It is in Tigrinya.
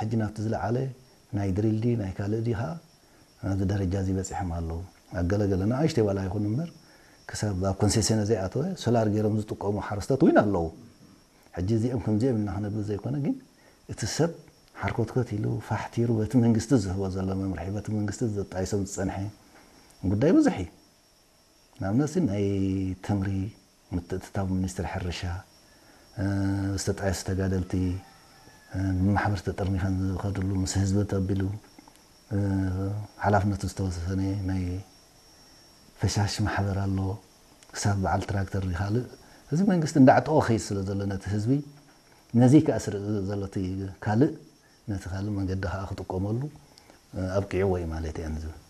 ሕጂ ናብቲ ዝለዓለ ናይ ድሪል ድዩ ናይ ካልእ ድዩ ከዓ ናብዚ ደረጃ እዚ በፂሖም ኣለዉ። ኣገለገለ ንኣሽተይ ዋላ ይኹን እምበር ክሳብ ኣብ ኮንሴሰነ ዘይኣተወ ሶላር ገይሮም ዝጥቀሙ ሓረስቶት እውን ኣለዉ። ሕጂ እዚኦም ከምዚኦም ኢልና ክነብል ዘይኮነ ግን እቲ ሰብ ሓርኮትኮት ኢሉ ፋሕቲሩ በቲ መንግስቲ ዝህቦ ዘሎ መምርሒ በቲ መንግስቲ ዘጣይሶም ዝፀንሐ ጉዳይ ብዙሕ እዩ። ንኣብነት ናይ ተምሪ ምትእትታው ሚኒስትሪ ሕርሻ ዝተጣየሱ ተጋደልቲ ብማሕበር ተጠርኒፈን ዝኸድሉ ምስ ህዝቢ ተቢሉ ሓላፍነቱ ዝተወሰነ ናይ ፈሻሽ ማሕበር ኣሎ። ክሳብ በዓል ትራክተር ይካልእ እዚ መንግስቲ እንዳዕጠቆ ከይድ ስለ ዘሎ ነቲ ህዝቢ ነዚ ከኣ ስርእ ዘሎ እቲ ካልእ ነቲ ካልእ መንገዲ ከዓ ክጥቀመሉ ኣብቂዕዎ እዩ ማለት እየ ዝብል።